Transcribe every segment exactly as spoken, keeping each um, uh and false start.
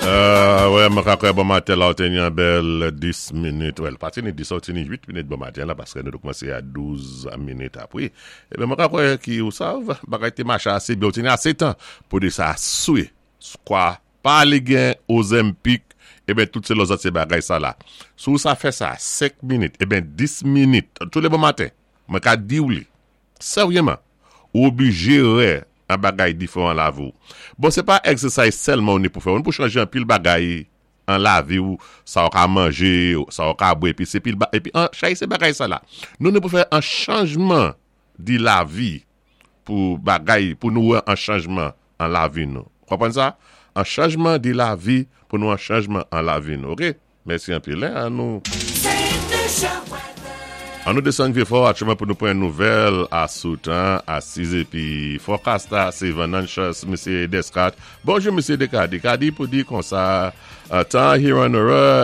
Euh, wè, mwen ka kwè bon maten la, ou té ni an bèl dis minit. Wè, pa té ni dis, ou té ni uit minit bon maten la, paské nou koumansé a douz minit apwé. Eben, mwen ka kwè ki ou sav, bagay té maché asé byen, ou té ni asé tan pou di sa soué. Kwa, pa li gen Ozempic, eben, tout sé lòzòt sé bagay sa la. Sou sa fè sa, senk minit, eben, dis minit, tou lé bon maten, mwen ka di ou li, sèryèman, ou oblijé wè an bagay diféwan lavi ou. Bon, sé pa exercise sèlman ou ni pou fè, ou ni pou chanjé an pil bagay an lavi ou, sa ou ka manjé, sa ou ka bwè, épi sé pil ba, épi an, chay sé bagay sa la. Nou ni pou fè an chanjman di lavi pou bagay, pou nou wè an chanjman an lavi nou. Konpwann sa? An chanjman di lavi pou nou an chanjman an lavi nou, ok? Mèsi anpil, hein? An nou An nou desann Vieux-Fort atchouman pou nou pran nouvèl a sou tan a sis épi forecast la sé Vananchas Mesye Descartes. Bonjou Mesye Descartes. Descartes di pou di konsa tan Huron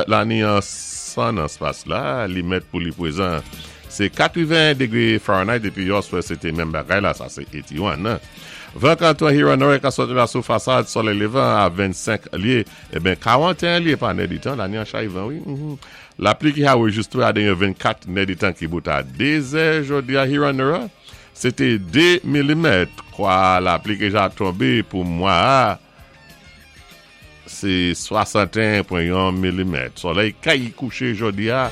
la ni an san an spas la, li mèt pou li pwézan. Sé katwenven degwé Fahrenheit épi yèswa sé té menm bagay la, sa sé eighty-one. Nan. Van kanton Huron ka sòti la sou fasad solèy lévan a vennsenk lyé, eben karanteyen lyé pa nèditan, la ni an chay van, wi. Mm-hmm. Lapli ki anwéjiswé a denye vennkat nèditan ki bout a dé zè jòdi a Huron, sé té de milimèt, kwa lapli ki ja tonbé pou mwa, sé swasanteyen pwen yon milimèt. Solèy kay kouché jòdi a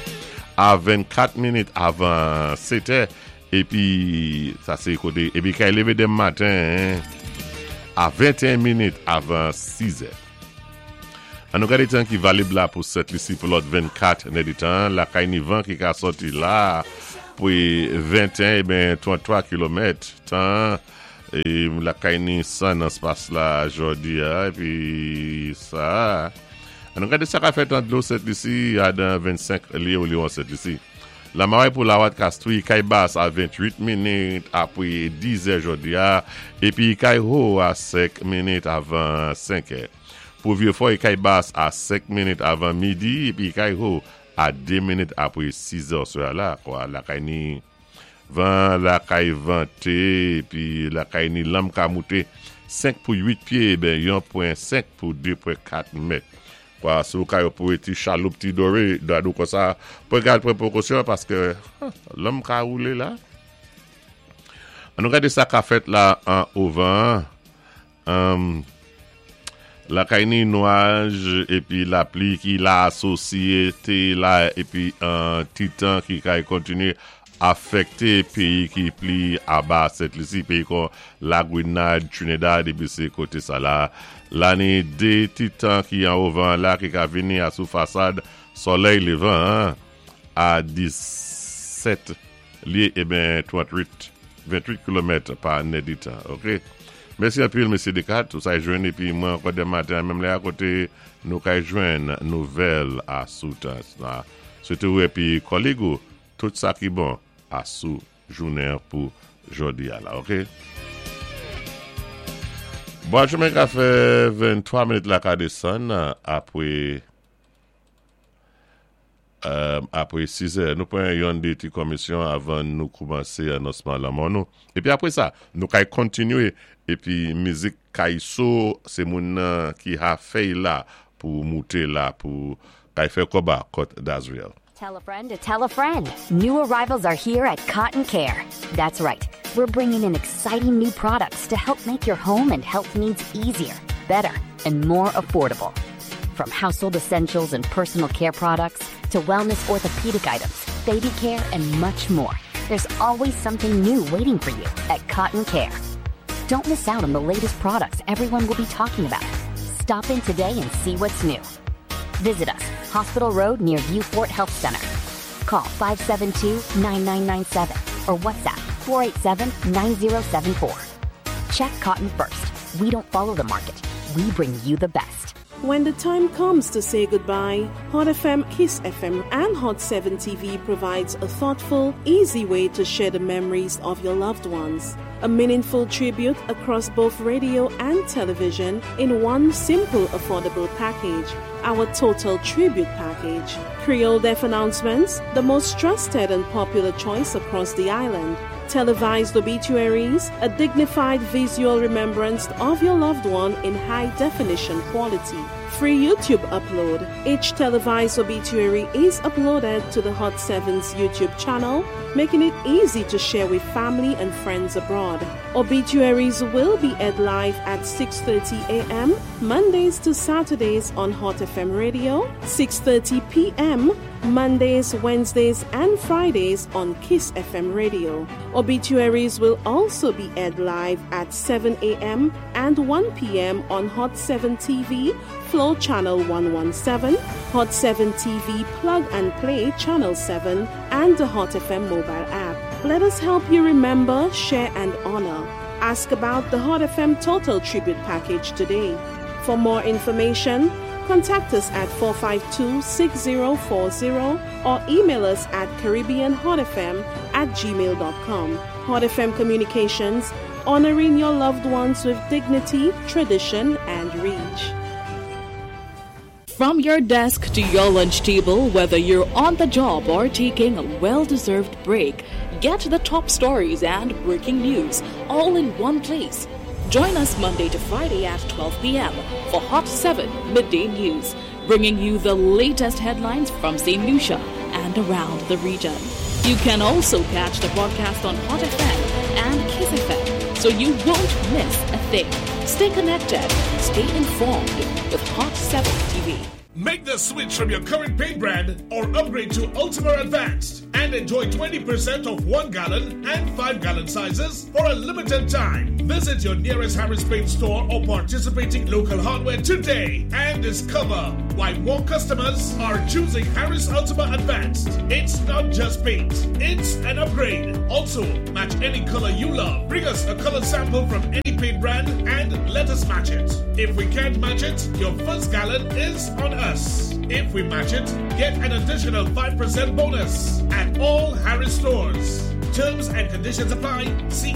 a vennkat minit avan sèt è, épi sa sé koté, épi kay lévé denmen maten a venteyen minit avan sis è. An nou gadé tan ki valib la pou Sent Lisi pou lòt vennkat nèditan, lakay ni van ki ka sòti la pou venteyen eben tranntwa kilomèt tan, é lakay ni san nan spas la jòdi a, épi sa. An nou gadé sa ka fèt an dlo Sent Lisi a dan vennsenk lye ou liwon Sent Lisi. Lamaray pou Lawat Kastwi, kay bas a venntwit minit apwé dis è jòdi a, épi kay wo a senk minit avan senk è. Pou Vieux-Fort, kay bas a senk minit avan midi, épi kay wo a de minit apwé sis è swa la, kwa lakay ni van lakay vanté, épi lakay ni lanm ka mouté senk pou uit pyé, ben yon pwen senk pou de pwen kat mèt. Kwa sou kay ou pou ti chaloup ti doré, dadou kon sa, pou gad pran pwékosyon paské lanm ka woulé la. An nou gadé sa ka fèt la an ovan, um, lakay ni nwaj épi lapli ki la asosyé té la épi an ti tan ki kay kontinyé afèkté péyi ki pli aba Sent Lisi, péyi kon Lagwinad, Trinidad, épi sé koté sa la. La ni dé ti tan ki an ovan la ki ka vini a sou fasad solèy lévan a disèt lyé eben tranntwit, venntwit kilomèt pa nèditan, ok? Mèsi anpil, Mesye Descartes, tout sa jwenn épi mwen ankò denmen maten menm lè a koté nou kay jwenn nouvèl a sou tan. Swété ou épi kòlèg ou, tout sa ki bon a sou jounen pou jòdi a la, ok? Bon, chemen ka fè venntwa minit la ka desann apwé euh, apwé sis è. Nou pran yon dé ti komisyon avan nou koumansé anonsman lanmò nou. Épi apwé sa, nou kay kontinyé épi mizik kay so, sé moun nan ki ha fèy la pou mouté la pou kay fè kòb a kòt Dazriel. Tell a friend to tell a friend. New arrivals are here at Cotton Care. That's right. We're bringing in exciting new products to help make your home and health needs easier, better, and more affordable. From household essentials and personal care products to wellness orthopedic items, baby care, and much more. There's always something new waiting for you at Cotton Care. Don't miss out on the latest products everyone will be talking about. Stop in today and see what's new. Visit us, Hospital Road near Vieux-Fort Health Center. Call five seven two, nine nine nine seven or WhatsApp four eight seven, nine zero seven four. Check Cotton first. We don't follow the market. We bring you the best. When the time comes to say goodbye, Hot F M, Kiss F M, and Hot seven T V provides a thoughtful, easy way to share the memories of your loved ones. A meaningful tribute across both radio and television in one simple, affordable package. Our Total Tribute Package. Creole Death Announcements, the most trusted and popular choice across the island. Televised obituaries, a dignified visual remembrance of your loved one in high definition quality. Free YouTube upload. Each televised obituary is uploaded to the Hot seven's YouTube channel, making it easy to share with family and friends abroad. Obituaries will be aired live at six thirty a m. Mondays to Saturdays on Hot F M Radio, six thirty p m. Mondays, Wednesdays, and Fridays on Kiss F M Radio. Obituaries will also be aired live at seven a m and one p m on Hot seven T V, Flow Channel one one seven, Hot seven T V Plug and Play Channel seven, and the Hot F M mobile app. Let us help you remember, share, and honor. Ask about the Hot F M Total Tribute Package today. For more information, contact us at four five two, six zero four zero or email us at caribbeanhotfm at gmail dot com. Hot F M Communications, honoring your loved ones with dignity, tradition, and reach. From your desk to your lunch table, whether you're on the job or taking a well deserved break, get the top stories and breaking news all in one place. Join us Monday to Friday at twelve p m for Hot seven Midday News, bringing you the latest headlines from Saint Lucia and around the region. You can also catch the broadcast on Hot F M and Kiss F M, so you won't miss a thing. Stay connected, stay informed with Hot seven T V. Make the switch from your current paint brand or upgrade to Ultima Advanced and enjoy twenty percent off one gallon and five gallon sizes for a limited time. Visit your nearest Harris Paint store or participating local hardware today and discover why more customers are choosing Harris Ultima Advanced. It's not just paint, it's an upgrade. Also, match any color you love. Bring us a color sample from any paint brand and let us match it. If we can't match it, your first gallon is on us. If we match it, get an additional five percent bonus at all Harris stores. Terms and conditions apply. See